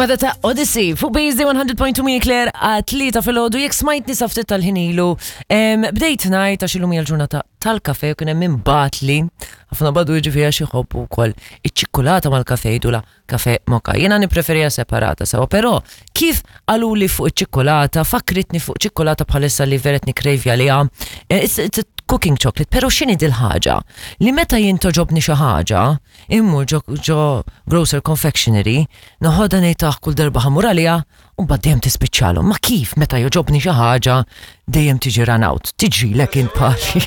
Wada ta' Odyssey fuq BSD 100.2 mi Claire għat-tlieta filgħodu jekk smajtni sa ftit tal-ħin ilu. Bdejt ngħid għax illum hija l-ġurnata tal-kafe u kien hemm min bagħatli ħafna badu jiġifieri għax iħobbu wkoll iċ-ċikkulata mal-kafe jgħidulha kafe moka. Jiena nippreferija separata sewa, però kif qaluli fuq iċ-ċikkulata fakkritni fuq ċikkulata bħalissa li vera qed nikkrejvja għaliha. Eh, it's, it's a cooking chocolate, però x'inhi dil-ħaġa? Li meta jien toġobni xi ħaġa, immur ġo, ġo grocer confectionery, noħodha ngħid ah kull darba ħamur għaliha, u mbagħad dejjem tispiċċalhom. Ma kif meta joġobni xi ħaġa dejjem tiġi run out? Tiġrilek int bħali.